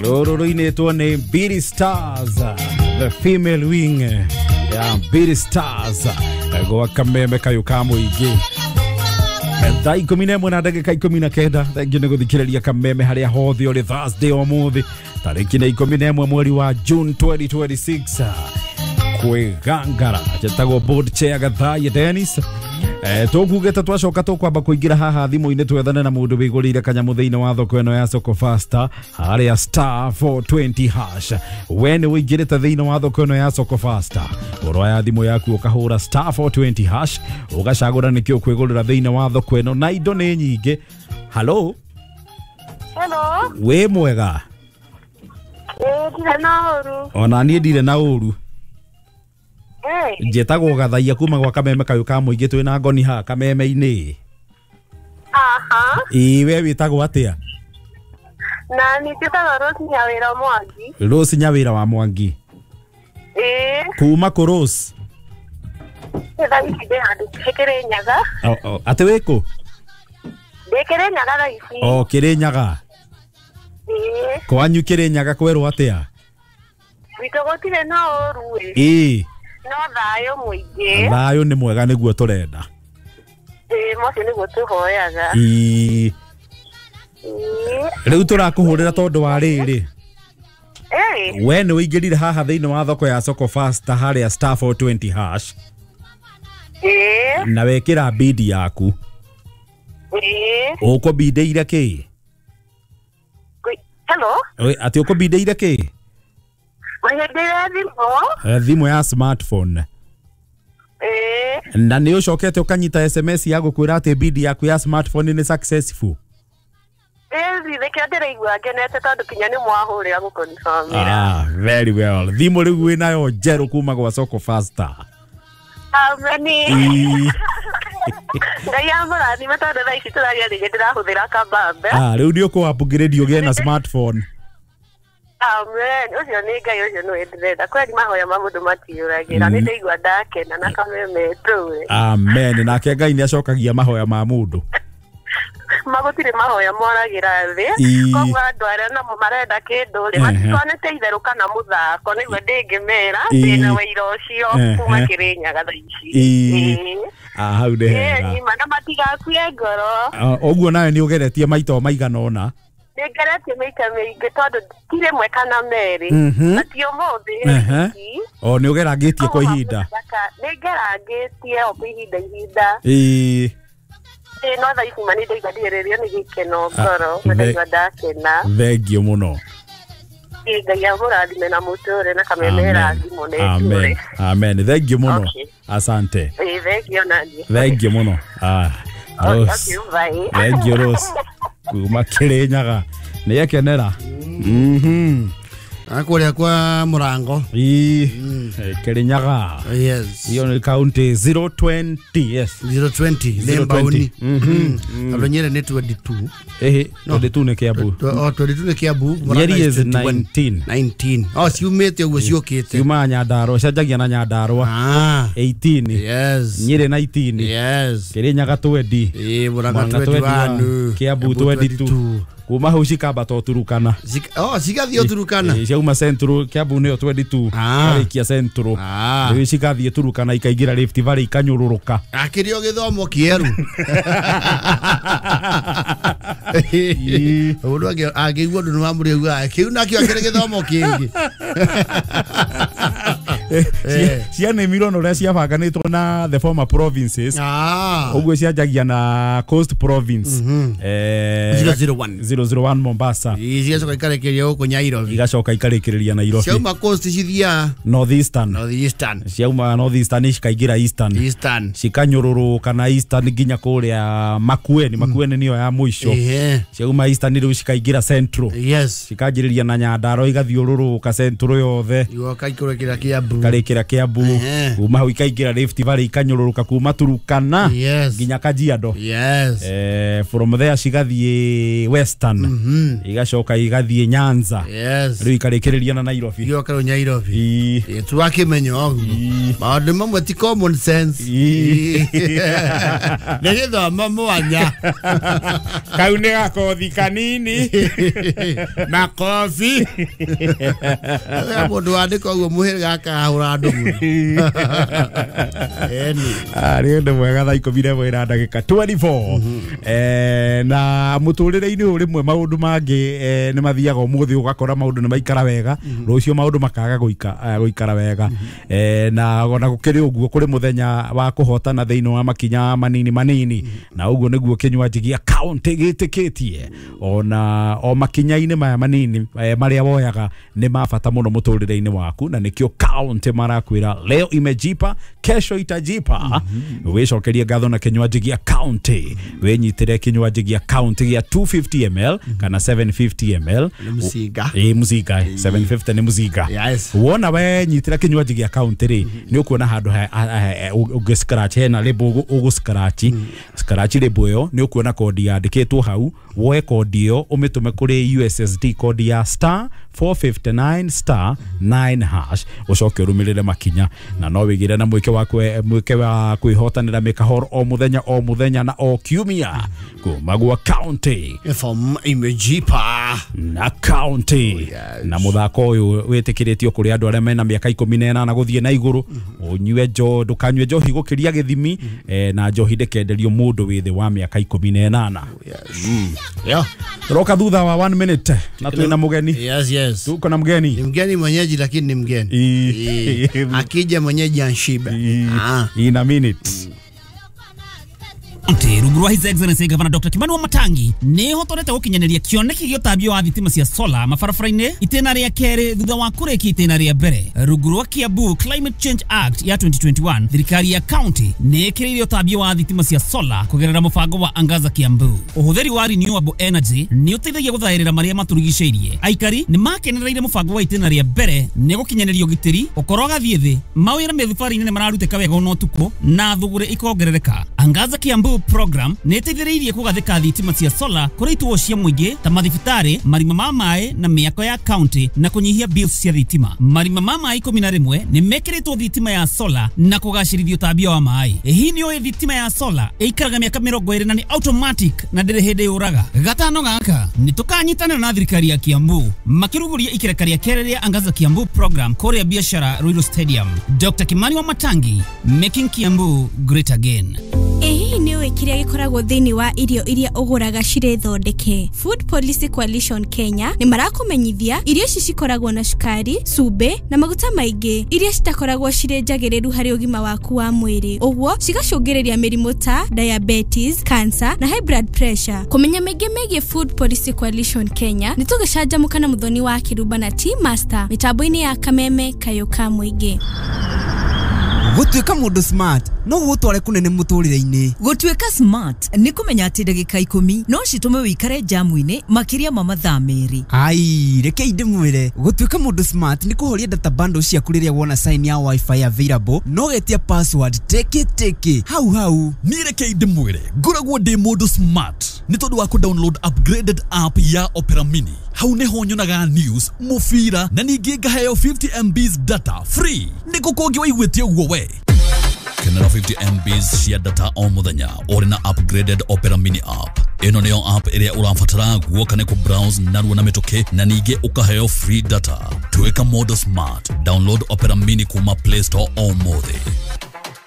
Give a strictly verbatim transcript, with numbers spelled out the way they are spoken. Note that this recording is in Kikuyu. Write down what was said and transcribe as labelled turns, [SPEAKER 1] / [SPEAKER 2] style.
[SPEAKER 1] Rũrũ rũinĩtwo nĩ Beat Stars, the female wing ya Beat Stars gwa kameme kayũ ka mũingĩ. Thaa ikũmi na ĩmwe na ndagĩka ikũmi na kenda. Thengiũ nĩ gũthikĩrĩria kameme harĩa hothe ũrĩ Thursday ũmũthĩ tarĩki nĩ ikũmi na ĩmwe mweri wa June twenty twenty-six. Kwĩgangara njĩtagwo board chair Gathaiya Dennis. Eh, tũkugĩte twacoka tũkwamba kũingĩra haha thimũ-inĩ twethane na mũndũ wĩgũrĩire kanyamũ thĩinĩ wa thoko ĩno ya Soko Fasta harĩa star four twenty hash. We nĩ ũingĩrĩte thĩinĩ wa thoko ĩno ya Soko Fasta, ũroya thimũ yaku ũkahũra star four twenty hash ũgacagũra nĩkĩ ũkwĩgũrĩra thĩinĩ wa thoko ĩno, na indo nĩ nyingĩ. Hello.
[SPEAKER 2] Hello.
[SPEAKER 1] Wĩ mwega?
[SPEAKER 2] Ĩĩ, ndirĩ na ũru.
[SPEAKER 1] Ona niĩ ndirĩ na ũru. Njĩtagwo Gathaiya kuma gwa kameme kayũ ka mũingĩ twĩna ngoni haha kameme-inĩ.
[SPEAKER 2] Aha.
[SPEAKER 1] Ĩĩ, we wĩtagwo atĩa?
[SPEAKER 2] Na nĩ njĩtagwo Rose Nyawĩra Mwangi.
[SPEAKER 1] Rose Nyawĩra wa Mwangi.
[SPEAKER 2] Ĩĩ.
[SPEAKER 1] Kuma kũ Rose?
[SPEAKER 2] Thaa ici ndĩ handũ Kĩrĩnyaga.
[SPEAKER 1] Atĩ wĩ kũ?
[SPEAKER 2] Ndĩ Kĩrĩnyaga thaa ici.
[SPEAKER 1] O Kĩrĩnyaga.
[SPEAKER 2] Ĩĩ.
[SPEAKER 1] Kwanyu Kĩrĩnyaga kwerwo atĩa?
[SPEAKER 2] Gwitũ gũtirĩ na ũru ĩ.
[SPEAKER 1] Ĩĩ.
[SPEAKER 2] No thayũ mũingĩ.
[SPEAKER 1] Thayũ nĩ mwega nĩguo tũrenda.
[SPEAKER 2] Ĩĩ, mocio nĩguo tũhoyaga.
[SPEAKER 1] Ĩĩ. Rĩu tũrakũhũrĩra tondũ wa rĩrĩ.
[SPEAKER 2] Ĩĩ.
[SPEAKER 1] We nĩ ũingĩrire haha thĩinĩ wa thoko ya Soko Fasta harĩa star four twenty hash.
[SPEAKER 2] Ĩĩ.
[SPEAKER 1] Na wekĩra bid yaku.
[SPEAKER 2] Ĩĩ.
[SPEAKER 1] Ũkũbindĩire kĩ?
[SPEAKER 2] Hello.
[SPEAKER 1] Atĩ ũkũbindĩire kĩ?
[SPEAKER 2] Ngũhĩndĩire thimũ.
[SPEAKER 1] Thimũ ya smartphone.
[SPEAKER 2] Ĩĩ.
[SPEAKER 1] Na nĩ ũcokete ũkanyita S M S ya gũkwĩra atĩ bid yaku ya smartphone nĩ successful.
[SPEAKER 2] Ĩĩ, nĩkĩo ndĩraigua ngenete tondũ kinya nĩ mwahũrĩra gũconfirmĩra.
[SPEAKER 1] Ah, very well. Thimũ rĩu wĩnayo njerũ kuma gwa Soko Fasta.
[SPEAKER 2] Ameni. Ngai amũrathime tondũ thaa ici tũraria rĩngĩ ndĩrahũthĩra kabambe.
[SPEAKER 1] Ah, rĩu nĩ ũkũ upgrade ũgĩe na smartphone.
[SPEAKER 2] Amen. Ũcio nĩ Ngai, ũcio nĩwe ndĩrenda. Kweli mahoya ma mũndũ matiũragĩra. Nĩ ndaigua ndakena na kameme tũĩ.
[SPEAKER 1] Amen. Nake Ngai nĩ acokagia mahoya ma mũndũ.
[SPEAKER 2] Magũtirĩ mahoya moragĩra thĩ. Koguo andũ arĩa namo marenda kĩndũ rĩ, matikonete itherũ kana mũthako, nĩguo ndĩngĩmera ndĩna wĩira ũcio kuma Kĩrĩnyaga thaa ici.
[SPEAKER 1] Ah, hau nĩ hega.
[SPEAKER 2] Na matigakue ngoro.
[SPEAKER 1] Ũguo nawe nĩ ũgeretie maita o maigana ũna.
[SPEAKER 2] Nĩngeretie maita maingĩ tondũ ti rĩmwe kana merĩ. Na ti ũmũthĩ.
[SPEAKER 1] O nĩ ũgerangĩtie kwa ihinda.
[SPEAKER 2] Nĩngerangĩtie o kwa ihinda ihinda.
[SPEAKER 1] Ĩĩ.
[SPEAKER 2] Ĩĩ, no thaa ici ma nĩ ndaigua ndĩrĩrio nĩ gĩkeno ngoro, na ndaigua ndakena.
[SPEAKER 1] Thengiũ mũno.
[SPEAKER 2] Ĩĩ, Ngai amũrathime na mũtũre na kameme rathimo na ĩtũre.
[SPEAKER 1] Amen. Amen. Thengiũ mũno. Asante.
[SPEAKER 2] Ĩĩ, thengiũ naniĩ.
[SPEAKER 1] Thengiũ mũno. Ah, Rose. Thengiũ Rose. Kuma Kĩrĩnyaga. Nĩ ekenera. Mhm.
[SPEAKER 3] Akũrĩa kwa Mũrango.
[SPEAKER 1] Ĩĩ, Kĩrĩnyaga.
[SPEAKER 3] Yes.
[SPEAKER 1] Iyo nĩ county zero twenty, yes.
[SPEAKER 3] zero twenty nĩ mbaũni. Mhm. Andũ Nyeri nĩ twenty-two.
[SPEAKER 1] Ĩhĩ, twenty-two nĩ Kiambu.
[SPEAKER 3] Oh, twenty-two nĩ Kiambu.
[SPEAKER 1] Nyeri is nineteen.
[SPEAKER 3] nineteen. Oh, ciumĩte ũguo ciũkĩte.
[SPEAKER 1] Ciumaga Nyandarũa, cianjagia na Nyandarũa.
[SPEAKER 3] Ah.
[SPEAKER 1] eighteen.
[SPEAKER 3] Yes.
[SPEAKER 1] Nyeri nineteen.
[SPEAKER 3] Yes.
[SPEAKER 1] Kĩrĩnyaga twenty.
[SPEAKER 3] Ĩĩ, Mũrang'a twenty-one.
[SPEAKER 1] Kiambu twenty-two. Kuma hau cikambata Turukana.
[SPEAKER 3] Oh, cigathiĩ Turukana.
[SPEAKER 1] Ĩĩ, ciauma Central, Kiambu nĩyo twenty-two. Karĩkia Central. Rĩu cigathiĩ Turukana ikaingĩra Rift Valley ikanyũrũrũka.
[SPEAKER 3] Akĩrĩ o gĩthomo kĩerũ. Mũndũ angĩigua ũndũ nĩ wamũrĩaugaga kĩu nakĩo akĩrĩ gĩthomo kĩngĩ.
[SPEAKER 1] Cianĩmirwo na ũrĩa ciabanganĩtwo na the former provinces. Ũguo cianjagia na Coast Province.
[SPEAKER 3] zero zero one.
[SPEAKER 1] zero zero one Mombasa.
[SPEAKER 3] Cigacoka ikarĩkĩrĩria gũkũ Nairobi.
[SPEAKER 1] Igacoka ikarĩkĩrĩria Nairobi.
[SPEAKER 3] Ciauma Coast cithiaga
[SPEAKER 1] North Eastern.
[SPEAKER 3] North Eastern.
[SPEAKER 1] Ciauma North Eastern cikaingĩra Eastern.
[SPEAKER 3] Eastern.
[SPEAKER 1] Cikanyũrũrũka na Eastern nginya kũrĩa Makueni. Makueni nĩyo ya mũico. Ciauma Eastern rĩu cikaingĩra Central.
[SPEAKER 3] Yes.
[SPEAKER 1] Cikanjĩrĩria na Nyandarua igathiũrũrũka Central yothe.
[SPEAKER 3] Igoka ikũrũkĩra Kiambu. Kiambu
[SPEAKER 1] ikarĩkĩra Kiambu kuma hau ikaingĩra Rift Valley ikanyũrũrũka kuma Turukana nginya Kajiado.
[SPEAKER 3] Yes.
[SPEAKER 1] Eh, from there cigathiĩ Western. Mm -hmm. Igacoka igathiĩ Nyanza.
[SPEAKER 3] Yes.
[SPEAKER 1] Rĩu ikarĩkĩrĩria na Nairobi.
[SPEAKER 3] Igoka rĩu Nairobi. Twakĩmenya ũguo. Maũndũ mamwe ti common sense. Nĩ gĩthomo mwanya.
[SPEAKER 1] Kau nĩ gakothi kanini.
[SPEAKER 3] Makobi. Mũndũ wandĩka ũguo mũhĩrĩga akahũra andũ mũno.
[SPEAKER 1] Ah, nĩ ũndũ mwega thaa ikũmi na ĩmwe na ndagĩka twenty-four. Eh, na mũtũrĩre-inĩ ũyũ rĩmwe maũndũ mangĩ nĩ mathiaga ũmũthĩ ũgakora maũndũ nĩ maikara wega, rũciũ maũndũ makaga gũikara wega. Eh, na ona gũkĩrĩ ũguo kũrĩ mũthenya wa kũhotana thĩinĩ wa makinya manini manini, na ũguo nĩguo kĩnywanji gĩa county gĩtĩkĩtie ona o makinya-inĩ maya manini marĩa woyaga nĩ ma bata mũno mũtũrĩre-inĩ waku, na nĩkĩo county marakwĩra leo imejipa kesho itajipa. Wĩcokerie ngatho na kĩnywanji gĩa county, wĩnyitĩre kĩnywanji gĩa county gĩa two fifty milliliters kana seven fifty milliliters.
[SPEAKER 3] Nĩ mũcinga.
[SPEAKER 1] Ĩ mũcinga, seven fifty nĩ mũcinga. Wona we nyitĩra kĩnywanji gĩa county rĩ, nĩ ũkuona handũ ũngĩ scratch hena label ũgũ scratch scratch label ĩyo nĩ ũkuona kodi yandĩkĩtwo hau, woe kodi ĩyo ũmĩtũme kũrĩ U S S D kodi ya star four fifty-nine star nine hash ucoke ũrũmĩrĩre makinya, na no wĩgĩre na mwĩke wa mwĩke wa kwĩhotanĩra mĩkahoro o mũthenya o mũthenya na o kiumia kuma gwa county
[SPEAKER 3] from imejipa
[SPEAKER 1] na county. Oh, yes. Na mũthako ũyũ wĩtĩkĩrĩtio kũrĩ andũ arĩa mena mĩaka ikũmi na ĩnana gũthiĩ na igũrũ. Ũnyue njo ndũkanyue njohi gũkĩria gĩthimi, eh, na njohi ndĩkenderio mũndũ wĩ thĩ wa mĩaka ikũmi na ĩnana.
[SPEAKER 3] Yes. Mm. Yeah.
[SPEAKER 1] Roka thutha wa one minute na twina mugeni.
[SPEAKER 3] Yes, yes.
[SPEAKER 1] Tuko na mgeni.
[SPEAKER 3] Ni mgeni mwenyeji lakini ni mgeni. I. Akija mwenyeji anshiba. Ah.
[SPEAKER 1] In a minute.
[SPEAKER 4] Rungu rwa His Excellency Governor Doctor Kimani Wamatangi nĩ hotorete gũkinyanĩria kĩoneki gĩa ũtambio wa thitima cia solar mabarabara-inĩ itĩna rĩa kerĩ thutha wa kũrĩkia itĩna rĩa mbere. Rungu rwa Kiambu Climate Change Act ya twenty twenty-one, thirikari ya county nĩ ĩkĩrĩire ũtambio wa thitima cia solar kũgerera mũbango wa Angaza Kiambu. Ũhũthĩri wa renewable energy nĩ ũteithagia gũthaĩrĩra marĩa matũrigicĩirie. Aikari nĩ makenereire mũbango wa itĩna rĩa mbere nĩ gũkinyanĩria ũgitĩri ũkorwo gathiĩ thĩ, mawĩra mĩthubarĩ-inĩ nĩ mararutĩka wega ona ũtukũ na thũgũrĩ ikongerereka. Angaza Kiambu program nĩ ĩteithĩrĩirie kũgathĩka thitima cia solar kũrĩ ituo cia mũingĩ ta mathibitarĩ, marima ma maĩ na mĩako ya county na kũnyihia bills cia thitima. Marima ma maĩ ikũmi na rĩmwe nĩ mekĩrĩtwo thitima ya solar na kũgacĩrithia ũtambia wa maĩ. Hihi nĩ ũĩ thitima ya solar ĩikaraga mĩaka mĩrongo ĩrĩ na nĩ automatic na ndĩrĩ hĩndĩ yũraga? Gatano gaka nĩ tũkanyitanĩra na thirikari ya Kiambu makĩrugũria ikereka rĩa kerĩ rĩa Angaza Kiambu program kũrĩa biashara Ruiru Stadium. Doctor Kimani Wamatangi, making Kiambu great again.
[SPEAKER 5] Ĩhihi nĩ ũĩ kĩrĩa gĩkoragwo thĩinĩ wa irio iria ũgũraga cirĩ thondeke? Food Policy Coalition Kenya nĩ marakũmenyithia irio ici cikoragwo na cukari, cumbĩ na maguta maingĩ iria citakoragwo cirĩ njagĩrĩru harĩ ũgima waku wa mwĩrĩ, ũguo cigacũngĩrĩria mĩrimũ ta diabetes, cancer na high blood pressure. Kũmenya maingĩ megiĩ Food Policy Coalition Kenya nĩ tũgĩcanjamũka na Mũthoni wa Kĩrumba na Tea Master mĩtambo-inĩ ya Kameme Kayũ ka Mũingĩ.
[SPEAKER 6] Gũtuĩka mũndũ smart no gũgũtware kũnene mũtũrĩre-inĩ.
[SPEAKER 7] Gũtuĩka smart nĩ kũmenya atĩ ndagĩka ikũmi no citũme wĩikare jamu-inĩ makĩria ma mathaa merĩ.
[SPEAKER 6] Ai, reke ndĩmwĩre, gũtuĩka mũndũ smart nĩ kũhoria data bundle ciaku rĩrĩa wona sign ya wifi available no getia password teke teke hau hau.
[SPEAKER 8] Niĩ reke ndĩmwĩre, ngoragwo ndĩ mũndũ smart nĩ tondũ wa kũ-download upgraded app ya Opera Mini. Hau nĩho nyonaga news, mũbira na ningĩ ngaheo fifty M Bs data free. Nĩ kũ kũngĩ waiguĩte ũguo we? Kenera fifty M Bs cia data o mũthenya ũrĩ na upgraded Opera Mini app. Ĩno nĩyo app ĩrĩa ũrabatara guoka nĩ kũ-browse narua na mĩtũkĩ na ningĩ ũkaheo free data. Tuĩka mũndũ smart. Download Opera Mini kuma Play Store o mũthĩ.